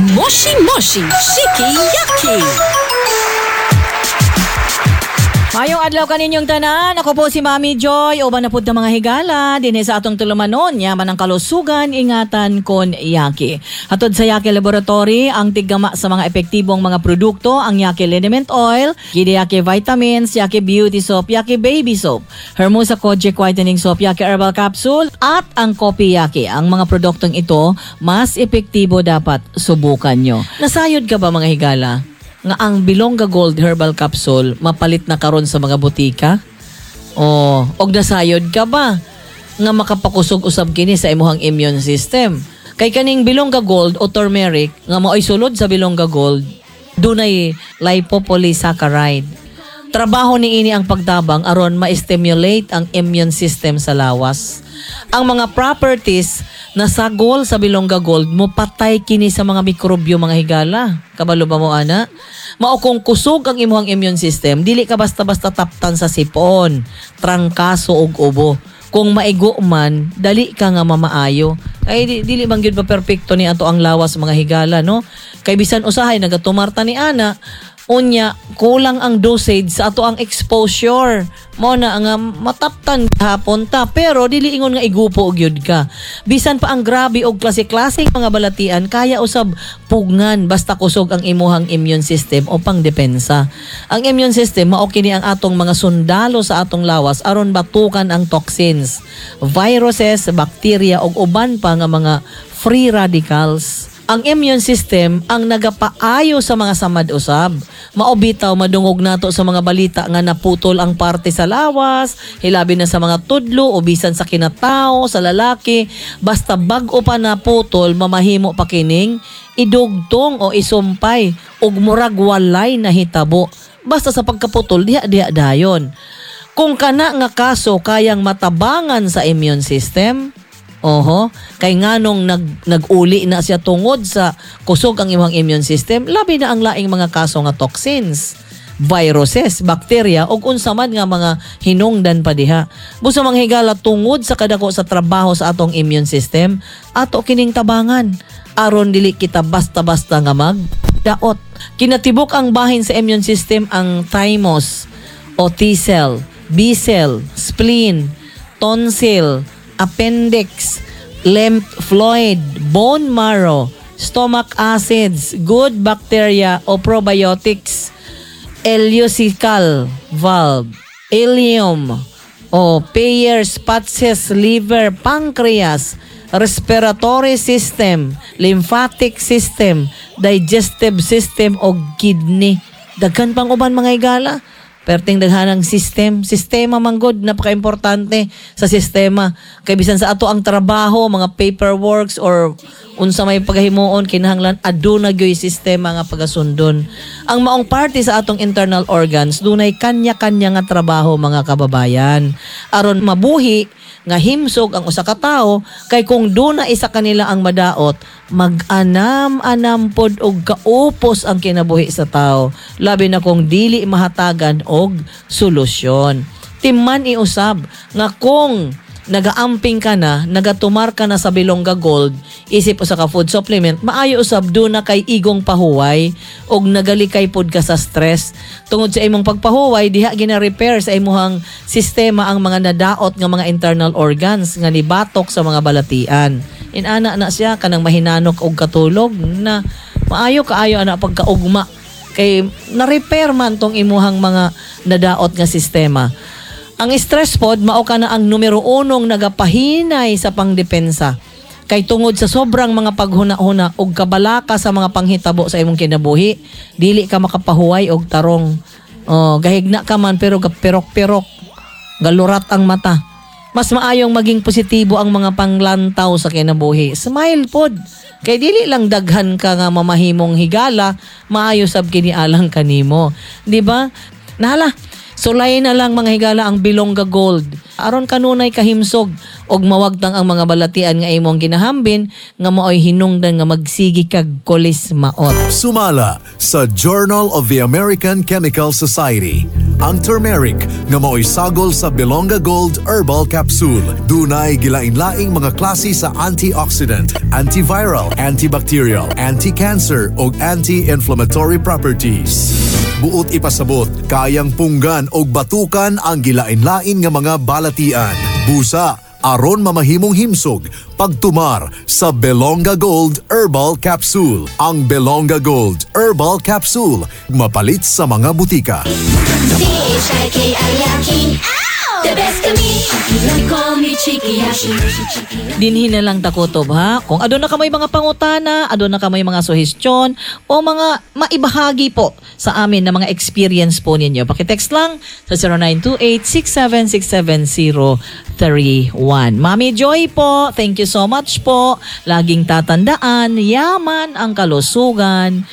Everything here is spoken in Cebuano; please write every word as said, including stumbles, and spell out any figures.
Moshi Moshi Shiki Yaki. Mayong adlaw kaninyong tanan. Ako po si Mami Joy. Uban na pud ta, mga higala dinhi sa atong tulumanon. Yaman ang kalusugan, ingatan kon Yaki. Hatod sa Yaki Laboratory, ang tiggama sa mga epektibong mga produkto, ang Yaki Liniment Oil, Gidi Yaki Vitamins, Yaki Beauty Soap, Yaki Baby Soap, Hermosa Kojic Whitening Soap, Yaki Herbal Capsule, at ang Kopi Yaki. Ang mga produktong ito, mas epektibo, dapat subukan nyo. Nasayod ka ba, mga higala, nga ang Bilongga Gold Herbal Capsule mapalit na karon sa mga botika? O, og nasayod ka ba nga makapakusog usab kini sa imuhang immune system? Kay kaning Bilongga Gold o turmeric nga maoy sulod sa Bilongga Gold, dunay lipopolysaccharide. Trabaho niini ang pagtabang aron ma-stimulate ang immune system sa lawas. Ang mga properties na sagol sa Bilongga Gold, mo patay kini sa mga mikrobyo, mga higala. Kabalo ba mo ana? Mao kung kusog ang imuhang immune system, dili ka basta-basta taptan sa sipon, trangkaso ug ubo. Kung maigo man, dali ka nga mamaayo. Ay di, dili man gyud pa perpekto ni ato ang lawas, mga higala, no? Kay bisan usahay nagatumarta ni ana, unya kulang ang dosage sa ato ang exposure. Mo na nga mataptan hapon ta, pero dili ingon nga igupo gyud ka. Bisan pa ang grabe og klase-klaseng mga balatian, kaya usab pugngan basta kusog ang imuhang immune system o pangdepensa. Ang immune system mao kini ang atong mga sundalo sa atong lawas aron batukan ang toxins, viruses, bacteria ug uban pa nga mga free radicals. Ang immune system ang nagapaayo sa mga samad usab. Mao bitaw madungog nato sa mga balita nga naputol ang parte sa lawas, hilabi na sa mga tudlo o bisan sa kinatao, sa lalaki, basta bag-o pa naputol, mamahimo pa kining idugtong o isumpay ug murag walay nahitabo. Basta sa pagkaputol, diha diha dayon. Kung kana nga kaso kayang matabangan sa immune system, oho, kay nganong nag nag-uli na siya tungod sa kusog ang imong immune system, labi na ang laing mga kaso nga toxins, viruses, bakterya ug unsa man nga mga hinungdan pa diha. Busa, mga higala, tungod sa kadako sa trabaho sa atong immune system, ato kining tabangan aron dili kita basta-basta nga mag daot. Kinatibuk ang bahin sa immune system ang thymus o T cell, B cell, spleen, tonsil, appendix, lymph fluid, bone marrow, stomach acids, good bacteria o probiotics, ileocecal valve, ileum, o Peyer's patches, liver, pancreas, respiratory system, lymphatic system, digestive system o kidney. Daghan pang uban, mga higala. Perting daghanang system, sistema manggod, napaka-importante sa sistema. Kay bisan sa ato ang trabaho, mga paperworks or unsa may pagahimuon, kinahanglan aduna gyoy sistema nga pagasundon. Ang maong parte sa atong internal organs dunay kanya-kanya nga trabaho, mga kababayan, aron mabuhi nga himsog ang usa ka tawo, kay kung duna isa kanila ang madaot, mag-anam-anam pod og kaupos ang kinabuhi sa tao, labi na kung dili mahatagan og solusyon. Timan iusab nga kung nagaamping ka na, nagatumar ka na sa Bilongga Gold, isip usa ka food supplement, maayo usab duna kay igong pahuway og nagalikay pod ka sa stress. Tungod sa imong pagpahuway, diha gina-repair sa imuhang sistema ang mga nadaot nga mga internal organs nga nibatok sa mga balatian. Inana na siya kanang mahinanok og katulog na maayo kaayo ana pagkaugma kay na-repair man tong imuhang mga nadaot nga sistema. Ang stress pod mao ka na ang numero unong nagapahinay sa pangdepensa. Kay tungod sa sobrang mga paghuna-huna ug kabalaka sa mga panghitabo sa imong kinabuhi, dili ka makapahuway og tarong. Oh, gahigna ka man pero gapirok-pirok, galurat ang mata. Mas maayong maging positibo ang mga panglantaw sa kinabuhi. Smile pod. Kay dili lang daghan ka nga mamahimong higala, maayo sab kini alang kanimo. Di ba? Nahala. Sulay na lang, mga higala, ang Bilongga Gold. Aron kanunay kahimsog og mawagtang ang mga balatian nga imong ginahambin nga maoy hinungdan nga magsigi kag kulis maot. Sumala sa Journal of the American Chemical Society. Ang turmeric nga maoy sagol sa Belonga Gold Herbal Capsule. Dunay gilain-laing mga klase sa antioxidant, antiviral, antibacterial, anti-cancer ug anti-inflammatory properties. Buot ipasabot, kayang punggan og batukan ang gilain-lain nga mga balatian. Busa, aron mamahimong himsog, pagtumar sa Belonga Gold Herbal Capsule. Ang Belonga Gold Herbal Capsule, mapalit sa mga butika. C H I K I Yaki. The best kami. They call me Chikiyashi. Dinhi na lang ta kutob, ha. Kung aduna kamoy mga pangutana, aduna kamoy mga suhestyon o mga maibahagi po sa amin na mga experience po ninyo. Paki-text lang sa zero nine two eight, six seven six seven zero three one. Mami Joy po, thank you so much po. Laging tatandaan, yaman ang kalusugan.